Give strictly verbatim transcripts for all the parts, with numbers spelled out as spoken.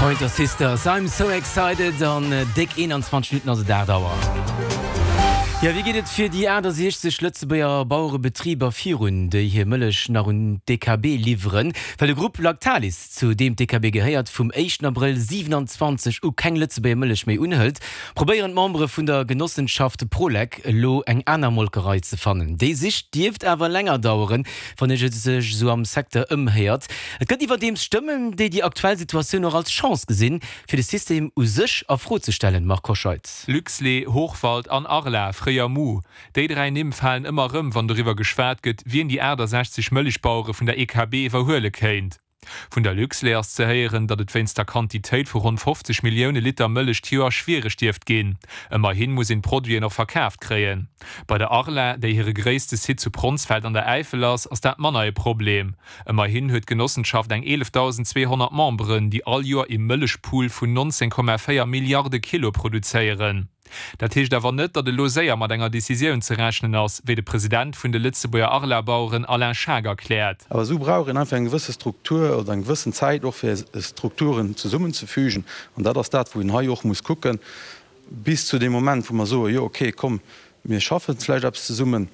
Pointer Sisters, I'm so excited an déck eenanzwanzeg Minutten ass et aacht Auer. Jo, wéi geet et fir déi aachtasechzeg Lëtzebuerger Bauerebetriber virun, déi hir Mëllech nach un d'E K B liwweren? Well de Grupp Lactalis, zu deem d'E K B gehéiert, vum éischten Abrëll siewenanzwanzeg u keng Lëtzebuerger Mëllech méi unhëlt, probéieren d'Membere vun der Genossenschaft Prolec elo eng aner Molkerei ze fannen. Déi Sich dierft awer länger daueren, wann ee sech esou am Secteur ëmhéiert. Et gëtt iwwerdeems Stëmmen, déi déi aktuell Situatioun och als Chance gesinn, fir de System u sech a Fro ze stellen, Marc Hoscheid. Luxlait, Hochwald an Arla, fréier Mu. Déi dräi Nimm falen ëmmer erëm, wann doriwwer geschwat gëtt, wien déi aachtasechzeg Mëllechbauere vun der E K B iwwerhuele kéint. Vun der Luxlait ass ze héieren, datt et wéinst der Quantitéit vu ronn fofzeg Millioune Liter Mëllech d'Joer schwiereg dierft ginn. Ëmmerhi muss een d'Produiten och verkaaft kréien. Bei der Arla, déi hire gréisste Site zu Pronsfeld an der Äifel ass, ass dat manner e Problem. Ëmmerhin huet d'Genossenschaft eng eelefdausendzweehonnert Memberen, déi all Joer e Mëllechpool vun nonzéng Komma véier Milliarde Kilo produzéieren. Dat heescht awer net, datt elo séier mat enger Decisioun ze rechnen ass, wéi de President vun de Lëtzebuerger Arla-Baueren Alain Schaack erkläert. Awer esou brauch een einfach eng gewësse Struktur oder eng gewëssen Zäit och fir Strukturen zesummenzefügen. An dat ass dat, wou een hei och muss kucken, bis zu deem Moment, wou mer soen, jo okay, komm, mir schaffen vläicht eppes zesummen.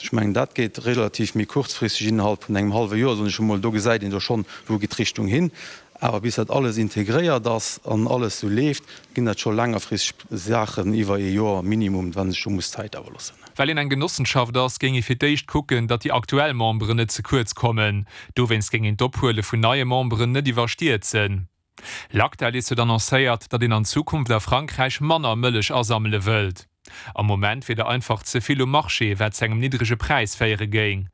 Ech mengen, dat geet relativ méi kuerzfristeg, innerhalb vun engem hallwe Joer, soen ech emol, do gesäit een da schonn, wou geet d'Richtung hin. Awer bis dat alles integréiert ass an alles sou leeft, ginn dat scho längerfristeg Saachen iwwer ee Joer minimum, wann sech do muss Zäit awer loossen. Well een eng Genossenschaft ass, géing ee fir d'éischt kucken, datt déi aktuell Memberen net ze kuerz kommen. Dowéinst géing een d'Ophuele vun neie Memberen net iwwerstierzen. Lactalis huet annoncéiert, datt een an Zukunft a Frankräich manner Mëllech asammele wëllt. Am Moment wier der einfach ze vill um Marché, wat zu engem niddrege Präis féiere géing.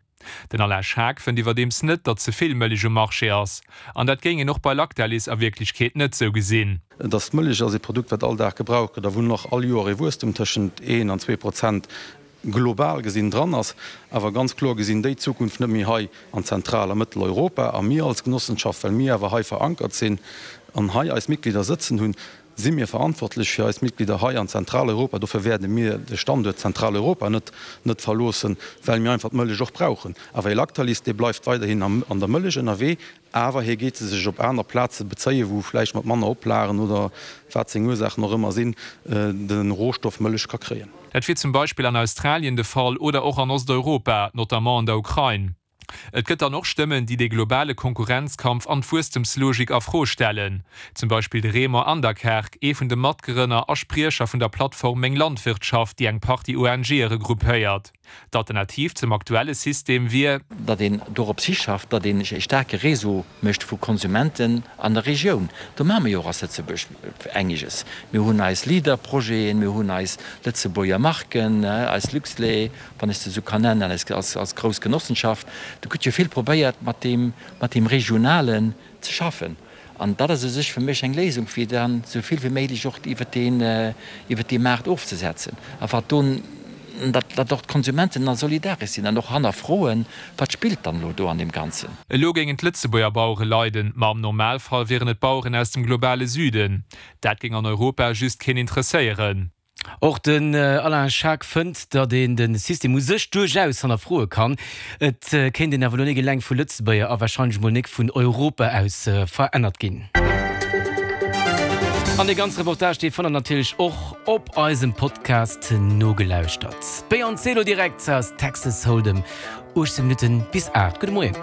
Den Alain Schaack fënnt iwwerdeems net, datt ze vill Mëllech um Marché ass. An dat géing een och bei Lactalis a Wierklechkeet net sou gesinn. Dass d'Mëllech ass e Produkt, wat all Dag gebraucht gëtt a wou nach all Joer e Wuesstem tëschent een an zwee Prozent global gesinn dran ass. Awer ganz kloer gesinn déi Zukunft net méi hei an Zentral a Mëtteleuropa. A mir als Genossenschaft, well mir awer hei verankert sinn an hei eis Mitglieder sëtzen hunn, si mir verantwortlech fir eis Mitglieder hei an Zentraleuropa. Dofir wäerte mir de Standuert Zentraleuropa net net verloossen, well mir einfach d'Mëllech och brauchen. Awer e Lactalis, dee bleift weiderhin am an der Mëllech ënnerwee, awer hie geet se sech op aner Plaze bezéien, wou vläicht mat manner Oplagen oder wat seng Ursaachen och ëmmer sinn, de Rohstoff Mëllech ka kréien. Dat wier zum Beispill an Australien de Fall oder och an Osteuropa, notamment an der Ukrain. Et gëtt dann och Stëmmen, déi de globale Konkurrenzkampf an d'Wuesstemslogik a Fro stellen. Zum Beispill de Raymond Anderkerk, ee vun de Matgrënner a Spriecher vun der Plattform Meng Landwirtschaft, déi eng Partie O N G regroupéiert. D'Alternativ zum aktuelle System wier, datt een dorops hischafft, datt een e staarke Réseau mécht vu Konsumenten an der Regioun. Do maache mir jo och als Lëtzebuerg einiges. Mir hunn eis Leader-Projeten, mir hunn eis Lëtzebuerger Marken, eis Luxlait, wann ech se esou kann nennen, als als grouss Genossenschaft. Do gëtt jo vill probéiert mat deem mat deem Regionalen ze schaffen. An dat ass u sech fir mech eng Léisung, fir dann esou vill wéi méiglech och iwwert deen iwwert dee Maart ofzesetzen. A wat do datt datt och d'Konsumenten da solidaresch sinn an och hannerfroen, wat spillt dann elo do an deem Ganzen. Elo géingen d'Lëtzebuerger Bauere leiden, ma am Normalfall wieren et Baueren aus dem globale Süden. Dat géing an Europa just keen interesséieren. Och den Alain Schaack fënnt, datt een de System u sech duerchaus hannerfroe kann. Et kéint een awer elo nik eleng vu Lëtzebuerger a warscheinlech mol nik vun Europa aus verännert ginn. An dee ganze Reportage, dee fannt der natierlech och op eisem Podcast nogelauschtert. D'Beyoncé elo direkt aus Texas Hold'em, uechtzéng Minutten bis aacht. Gudde Moien.